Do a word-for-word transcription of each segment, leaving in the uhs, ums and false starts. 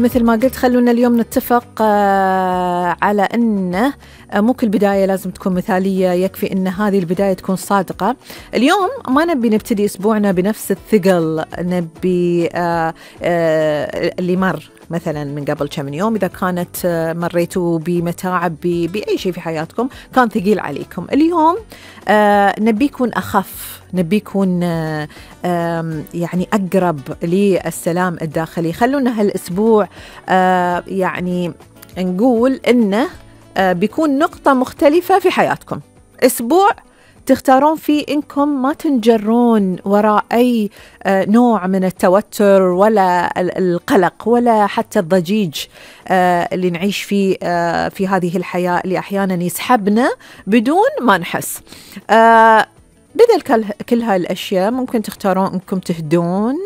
مثل ما قلت خلونا اليوم نتفق على أنه مو كل بداية لازم تكون مثالية، يكفي أن هذه البداية تكون صادقة. اليوم ما نبي نبتدي أسبوعنا بنفس الثقل، نبي اللي مر مثلا من قبل كم يوم، إذا كانت مريتوا بمتاعب بأي شيء في حياتكم كان ثقيل عليكم، اليوم نبي يكون أخف، نبي يكون يعني أقرب للسلام الداخلي. خلونا هالأسبوع يعني نقول إنه بيكون نقطة مختلفة في حياتكم، أسبوع تختارون فيه إنكم ما تنجرون وراء أي نوع من التوتر ولا القلق ولا حتى الضجيج اللي نعيش فيه في هذه الحياة اللي أحيانا يسحبنا بدون ما نحس. بدل كل هالأشياء ممكن تختارون إنكم تهدون،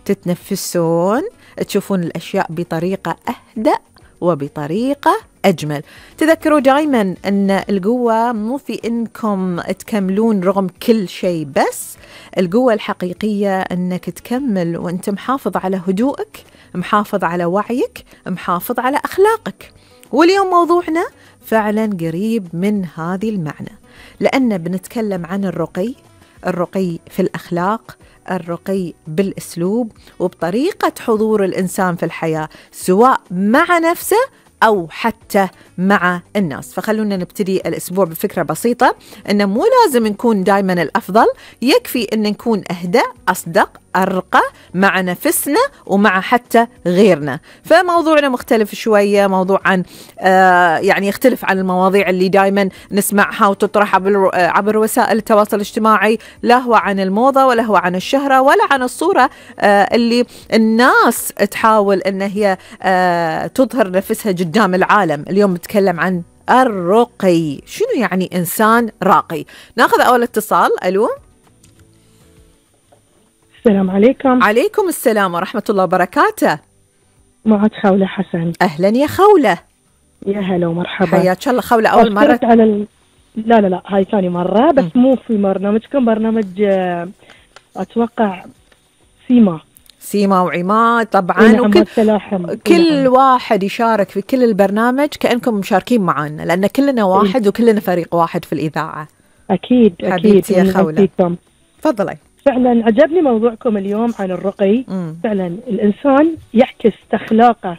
تتنفسون، تشوفون الأشياء بطريقة أهدأ وبطريقة أجمل. تذكروا دائما أن القوة مو في إنكم تكملون رغم كل شيء، بس القوة الحقيقية أنك تكمل وأنت محافظ على هدوءك، محافظ على وعيك، محافظ على أخلاقك. واليوم موضوعنا فعلا قريب من هذه المعنى، لأن بنتكلم عن الرقي، الرقي في الأخلاق، الرقي بالأسلوب وبطريقة حضور الإنسان في الحياة، سواء مع نفسه أو حتى مع الناس. فخلونا نبتدي الأسبوع بفكرة بسيطة، إنه مو لازم نكون دايما الأفضل، يكفي إن نكون أهدى، أصدق، أرقى مع نفسنا ومع حتى غيرنا. فموضوعنا مختلف شوية، موضوع عن آه يعني يختلف عن المواضيع اللي دايما نسمعها وتطرح عبر, عبر وسائل التواصل الاجتماعي، لا هو عن الموضة ولا هو عن الشهرة ولا عن الصورة آه اللي الناس تحاول إن هي آه تظهر نفسها قدام العالم. اليوم نتكلم عن الرقي، شنو يعني إنسان راقي؟ ناخذ أول اتصال. ألو، السلام عليكم. عليكم السلام ورحمة الله وبركاته. معك خولة حسن. أهلا يا خولة. يا هلا ومرحبا. حياك الله خولة. أول مرة على ال... لا لا لا هاي ثاني مرة، بس م. مو في برنامجكم، برنامج أتوقع سيما سيما وعماد طبعا، نعم، وكل كل نعم. واحد يشارك في كل البرنامج كأنكم مشاركين معنا، لأن كلنا واحد إيه؟ وكلنا فريق واحد في الإذاعة. أكيد حبيبتي أكيد يا خولة، تفضلي. فعلا عجبني موضوعكم اليوم عن الرقي. مم. فعلا الإنسان يعكس أخلاقه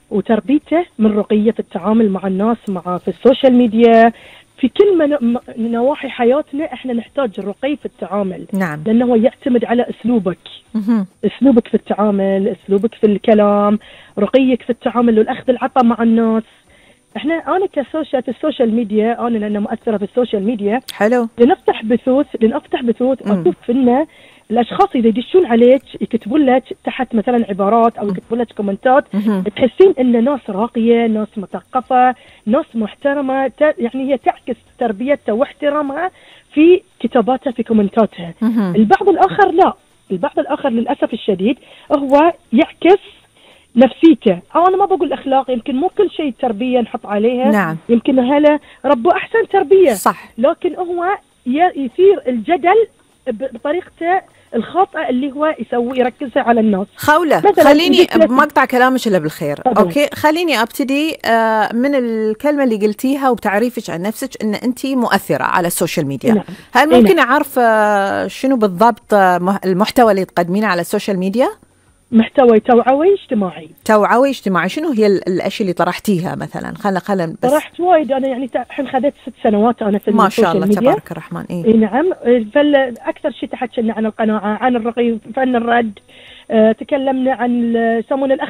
وتربيته من رقية في التعامل مع الناس، مع في السوشيال ميديا، في كل من نواحي حياتنا احنا نحتاج الرقي في التعامل. نعم. لأنه يعتمد على أسلوبك، مم. أسلوبك في التعامل، أسلوبك في الكلام، رقيك في التعامل والأخذ العطاء مع الناس. احنا انا كسوشيال في السوشيال ميديا، انا لأنه مؤثرة في السوشيال ميديا، حلو، لنفتح بثوث لنفتح بثوث اشوف ان الاشخاص اذا يدشون عليك يكتبون لك تحت مثلا عبارات او يكتبون لك كومنتات، تحسين ان ناس راقيه، ناس مثقفه، ناس محترمه، يعني هي تعكس تربيتها واحترامها في كتاباتها في كومنتاتها. البعض الاخر لا، البعض الاخر للاسف الشديد هو يعكس نفسيته، أو أنا ما بقول أخلاق، يمكن مو كل شيء تربية نحط عليها. نعم. يمكن هلا ربوا أحسن تربية، صح، لكن هو يثير الجدل بطريقته الخاطئة اللي هو يسوي يركزها على الناس. خولة خليني ما أقطع كلامك إلا بالخير. طبعا. أوكي، خليني أبتدي من الكلمة اللي قلتيها وبتعريفك عن نفسك إن أنت مؤثرة على السوشيال ميديا. نعم. هل ممكن نعم. أعرف شنو بالضبط المحتوى اللي تقدمينه على السوشيال ميديا؟ محتوى توعوي اجتماعي. توعوي اجتماعي، شنو هي الاشياء اللي طرحتيها مثلا؟ خلنا خلنا بس. طرحت وايد انا، يعني الحين خذيت ست سنوات انا في ما شاء الله ميديا. تبارك الرحمن. إيه؟ إيه نعم. فاكثر شيء تحكينا عن القناعه، عن الرقي، فن الرد، اه تكلمنا عن يسمونه